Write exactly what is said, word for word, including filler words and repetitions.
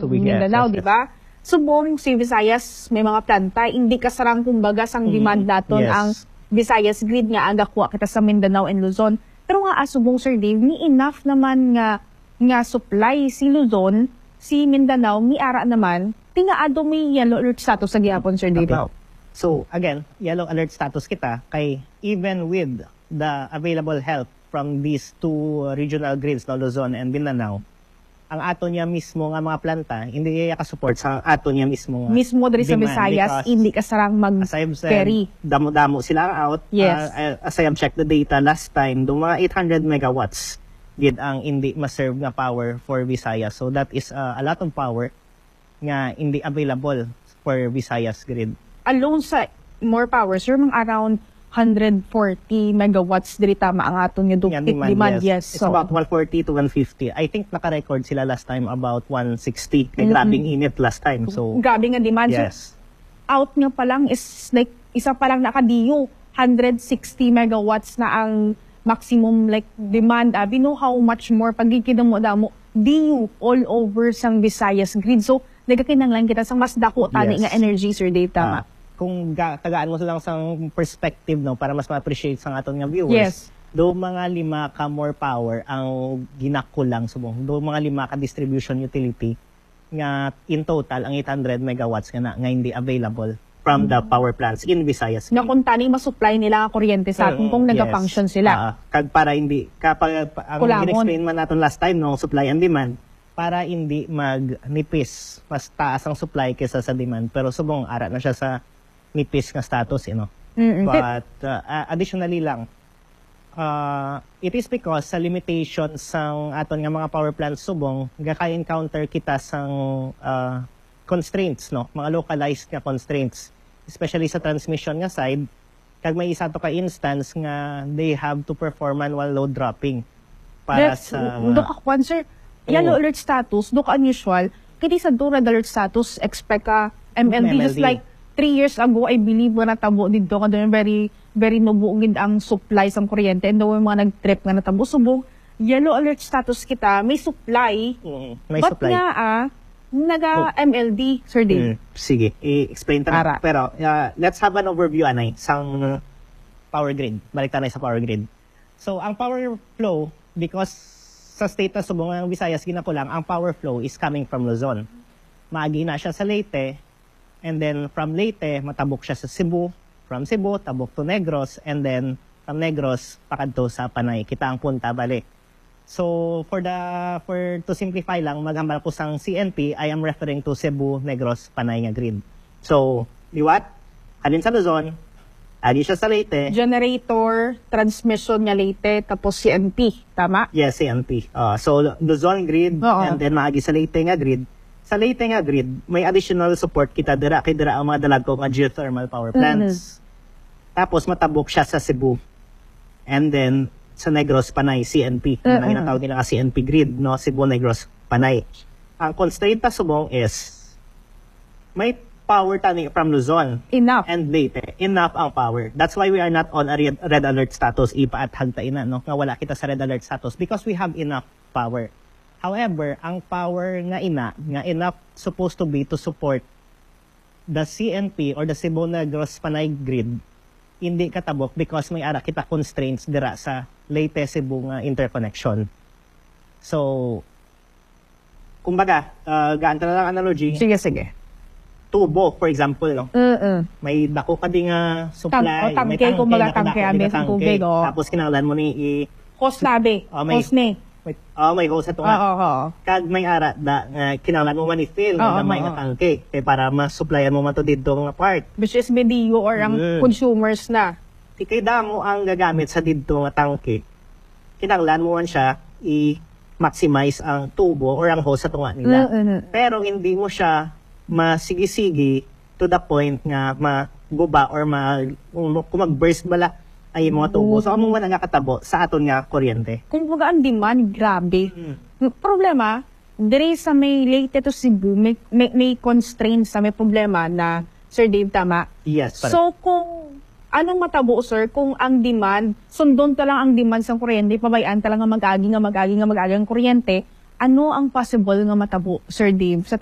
Mindanao, yes, di ba? Subong si Visayas may mga planta, hindi kasarang, kumbaga, sang demand naton ang Visayas grid nga agakuha kita sa Mindanao and Luzon. Pero nga, ah, subong, Sir Dave, ni enough naman nga, nga supply si Luzon, si Mindanao, ni ara naman, tingaado may yellow alert status sa gihapon, Sir Dave. So, again, yellow alert status kita kay even with the available help from these two regional grids, no, Luzon and Mindanao, ang ato niya mismo nga mga planta, hindi iya ka-support sa ato niya mismo nga mismo diri sa demand Visayas, because, hindi kasarang mag-carry. Damo-damo sila ang out. Yes. Uh, uh, as I have checked the data last time, do mga eight hundred megawatts gid ang hindi ma-serve nga power for Visayas. So that is, uh, a lot of power nga hindi available for Visayas grid. Alone sa More Power, sir, mga around hundred forty megawatts diri tama ang aton nga dupit demand. Yes. It's about one forty to one fifty. I think naka-record sila last time about one sixty. Kay grabing init last time. So, grabe nga demand. So, yes, out nga pa lang is, like, isa pa lang nakadiyo, hundred sixty megawatts na ang maximum, like, demand. Abi, no, how much more pagkikidamo-damo diyo all over sang Visayas grid. So, nagakinahanglan kita sang mas dako tani nga energy, Sir Dave, tama? Ah, kung ga-, tagaan mo lang sang perspective, no, para mas ma-appreciate sang aton nga viewers. Yes. Do mga lima ka More Power ang ginakulang subong. Do mga lima ka distribution utility nga in total ang eight hundred megawatts nga na, nga hindi available from the power plants in Visayas. Nga kung tani masupply nila nga kuryente sa aton kung nagafunction sila. Ah, kag para hindi, kapag, ang gin-explain man naton last time, no, supply and demand, para hindi magnipis, mas taas ang supply kaysa sa demand, pero subong ara na siya sa nipis nga status, you know. Mm-mm. But, uh, uh, additionally lang, uh, it is because sa limitation sang aton nga mga power plants subong, gaka-encounter kita sang, uh, constraints, no? Mga localized nga constraints, especially sa transmission nga side, kag may isa to ka instance nga they have to perform manual load dropping para sa mga, do ka kwan, sir, yellow alert status, do ka unusual. Kini sa do red alert status, expect ka M L D. Just like three years ago, I believe, nga natabo dito, nga doon very, very nubo gid ang supply sang kuryente, and doon mga nag-trip nga natabo. Subong, yellow alert status kita, may supply. Mm, may supply. But nga, ah, naga-M L D, Sir Dave. Mm, sige, i-explain ta na. Ara. Pero, ah, let's have an overview, anay, sang power grid. Balik ta na sa power grid. So, ang power flow, because sa state na subong ang Visayas ginakulang, ang power flow is coming from Luzon. Maagi na siya sa Leyte, and then from Leyte, matabok siya sa Cebu. From Cebu, tabok to Negros, and then from Negros, pakadto sa Panay. Kita ang punta, bali. So, for the, for to simplify lang, maghambal ko sang C N P, I am referring to Cebu, Negros, Panay nga grid. So, liwat, halin sa Luzon, agi siya sa Leyte. Generator, transmission nga Leyte, tapos C N P, tama? Yes, C N P. Ah, so, Luzon grid, oo, and then maagi sa Leyte nga grid. Sa Leyte nga grid, may additional support kita dira, kay dira ang mga dalagko nga geothermal power plants. Mm-hmm. Tapos matabok siya sa Cebu. And then, sa Negros, Panay, C N P. Mm-mm. Ang ginatawag nila nga C N P grid, no? Cebu, Negros, Panay. Ang constraint ta subong is, may power tani from Luzon. Enough. And Leyte. Enough ang power. That's why we are not on a red, red alert status. Ipaathag ta ina, no? Nga wala kita sa red alert status because we have enough power. However, ang power nga ina, nga enough supposed to be to support the C N P or the Cebu Negros Panay grid, hindi katabok because may ara kita constraints dira sa Leyte Cebu nga interconnection. So, kumbaga, ah, gaan ta na lang analogy. Sige, sige. Tubo, for example, no? Mm-mm. May dako ka di nga supply, may tangke, kumbaga, tangke, tangke, abi, tubig, oh. Tapos kinahanglan mo ni i- Hose na, be. Oh, may hose ni. May, oh, may hose ato nga. Oo, oo. Kag may ara da nga kinahanglan mo man i-fill nga gamay nga tangke kay para ma-supplyan mo man to didto nga part. Which is B D U or ang consumers na. Di kay damo ang gagamit sa didto nga tangke. Kinahanglan mo man siya i-maximize ang tubo or ang hose ato nga nila. Mm, mm. Pero hindi mo siya masigi-sigi to the point nga maguba or ma-, kung mag-burst bala ang imo nga tubo. So, amo man ang nakatabo sa aton nga kuryente. Kumbaga, ang demand, grabe. Mm. Problema, diri sa may Leyte to Cebu, may, may, may constraints sa may problema na, Sir Dave, tama? Yes, correct. So, kung anong matabo, sir, kung ang demand, sundon ta lang ang demand sa kuryente, pabayaan ta lang nga mag-agi, nga mag-agi, nga mag-agi ang kuryente, ano ang possible nga matabo, Sir Dave, sa